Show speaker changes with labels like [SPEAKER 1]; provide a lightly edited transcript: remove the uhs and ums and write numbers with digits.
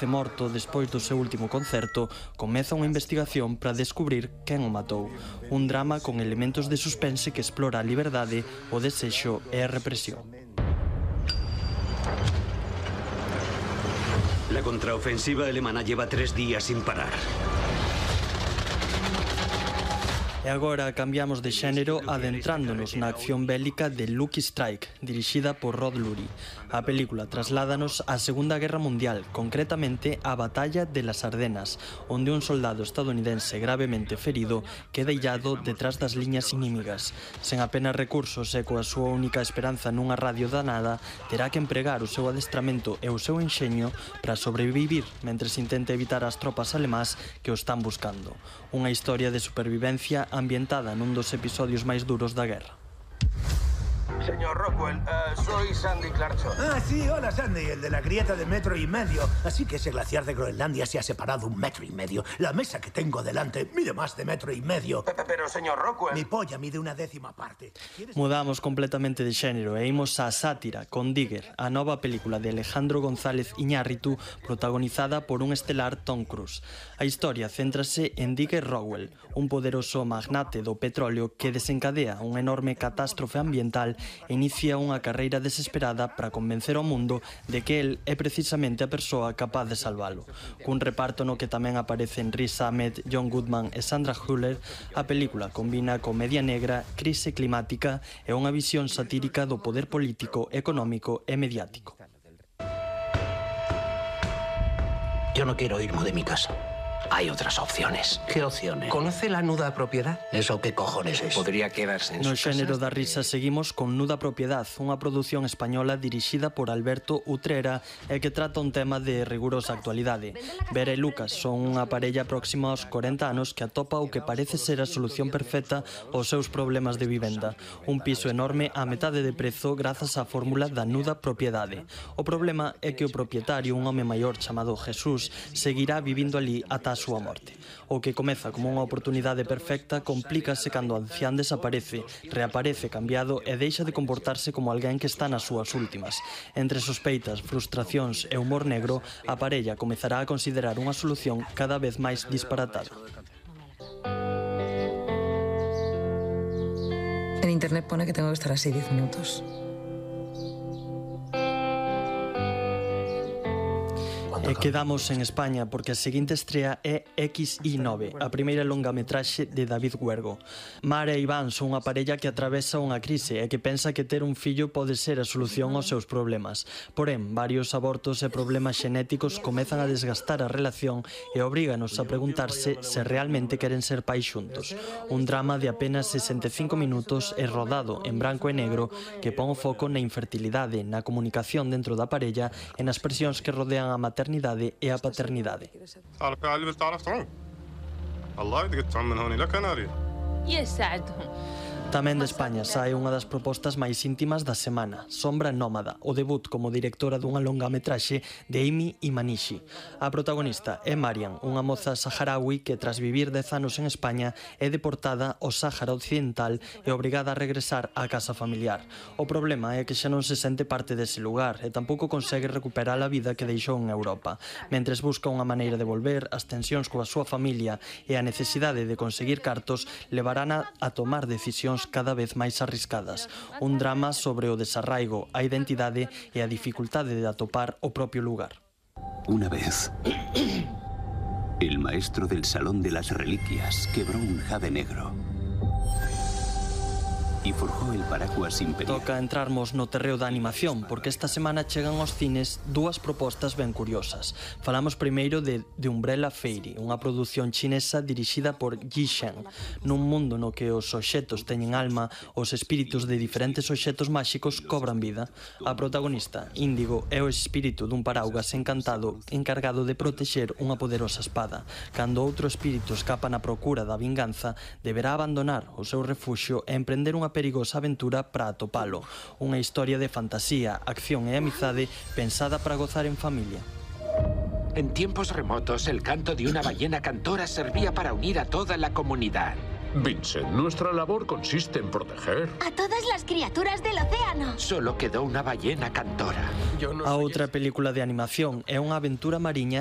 [SPEAKER 1] morto despois do seu último concerto, comeza unha investigación para descubrir quen o matou. Un drama con elementos de suspense que explora a liberdade, o desexo e a represión.
[SPEAKER 2] La contraofensiva alemana lleva 3 días sin parar.
[SPEAKER 1] E agora cambiamos de xénero adentrándonos na acción bélica de Lucky Strike, dirixida por Rod Lurie. A película trasládanos á Segunda Guerra Mundial, concretamente á Batalla de las Ardenas, onde un soldado estadounidense gravemente ferido queda illado detrás das liñas inimigas. Sen apenas recursos e coa súa única esperanza nunha radio danada, terá que empregar o seu adestramento e o seu enxeño para sobrevivir mentres intenta evitar as tropas alemás que o están buscando. Unha historia de supervivencia ambientada nun dos episodios máis duros da guerra.
[SPEAKER 3] Señor Rockwell, soy Sandy Clarkson.
[SPEAKER 4] Ah, sí, hola Sandy, el de la grieta de 1,5 metros. Así que ese glaciar de Groenlandia se ha separado 1,5 metros. La mesa que tengo delante mide más de 1,5 metros.
[SPEAKER 3] Pero, señor Rockwell...
[SPEAKER 4] Mi polla mide 1/10 parte.
[SPEAKER 1] Mudamos completamente de xénero e imos á sátira con Digger, a nova película de Alejandro González Iñárritu protagonizada por un estelar Tom Cruise. A historia céntrase en Digger Rowell, un poderoso magnate do petróleo que desencadea unha enorme catástrofe ambiental e inicia unha carreira desesperada para convencer ao mundo de que el é precisamente a persoa capaz de salvalo. Cun reparto no que tamén aparecen Riz Ahmed, John Goodman e Sandra Hüller, a película combina comedia negra, crise climática e unha visión satírica do poder político, económico e mediático.
[SPEAKER 5] Yo no quiero irme de mi casa. Hay otras opciones.
[SPEAKER 6] ¿Qué opciones?
[SPEAKER 5] ¿Conoce la nuda propiedad?
[SPEAKER 6] ¿Eso qué cojones es?
[SPEAKER 5] Podría quedarse en
[SPEAKER 1] No
[SPEAKER 5] su
[SPEAKER 1] xénero
[SPEAKER 5] casa.
[SPEAKER 1] da risa seguimos con Nuda Propiedad, unha produción española dirixida por Alberto Utrera e que trata un tema de rigurosa actualidade. Vera e Lucas son unha parella próxima aos 40 anos que atopa o que parece ser a solución perfecta aos seus problemas de vivenda. Un piso enorme a metade de prezo grazas á fórmula da Nuda Propiedade. O problema é que o propietario, un home maior chamado Jesús, seguirá vivindo ali ata a súa morte. O que comeza como unha oportunidade perfecta complícase cando o ancián desaparece, reaparece cambiado e deixa de comportarse como alguén que está nas súas últimas. Entre sospeitas, frustracións e humor negro, a parella comezará a considerar unha solución cada vez máis disparatada.
[SPEAKER 7] En internet pone que tengo que estar así 10 minutos.
[SPEAKER 1] E quedamos en España porque a seguinte estrea é XI9, a primeira longametraxe de David Huergo. Mar e Iván son unha parella que atravesa unha crise e que pensa que ter un fillo pode ser a solución aos seus problemas. Porén, varios abortos e problemas xenéticos comezan a desgastar a relación e obríganos a preguntarse se realmente queren ser pais xuntos. Un drama de apenas 65 minutos e rodado en branco e negro que pon o foco na infertilidade, na comunicación dentro da parella e nas presións que rodean a maternidade e a paternidade. Tamén de España sae unha das propostas máis íntimas da semana, Sombra Nómada, o debut como directora dunha longametraxe de Amy Imanishi. A protagonista é Mariam, unha moza saharaui que tras vivir 10 anos en España é deportada ao Sáhara Occidental e obrigada a regresar á casa familiar. O problema é que xa non se sente parte dese lugar e tampouco consegue recuperar a vida que deixou en Europa. Mentres busca unha maneira de volver, as tensións coa súa familia e a necesidade de conseguir cartos levarán a tomar decisións cada vez máis arriscadas. Un drama sobre o desarraigo, a identidade e a dificultade de atopar o propio lugar.
[SPEAKER 8] Una vez, el maestro del Salón de las Reliquias quebró un jade negro y forjó el paraguas imperial.
[SPEAKER 1] Toca entrarmos no terreo da animación, porque esta semana chegan aos cines dúas propostas ben curiosas. Falamos primeiro de Umbrella Fairy, unha produción chinesa dirixida por Yi Shen. Nun mundo no que os obxetos teñen alma, os espíritus de diferentes obxetos máxicos cobran vida. A protagonista, Índigo, é o espírito dun paraugas encantado encargado de protexer unha poderosa espada. Cando outro espírito escapa na procura da vinganza, deberá abandonar o seu refuxio e emprender unha perigosa aventura para atopalo. Unha historia de fantasía, acción e amizade pensada para gozar en familia.
[SPEAKER 9] En tiempos remotos, el canto de una ballena cantora servía para unir a toda la comunidad.
[SPEAKER 10] Vincent, nuestra labor consiste en proteger
[SPEAKER 11] a todas las criaturas del océano.
[SPEAKER 9] Solo quedó una ballena cantora.
[SPEAKER 1] A outra película de animación é unha aventura mariña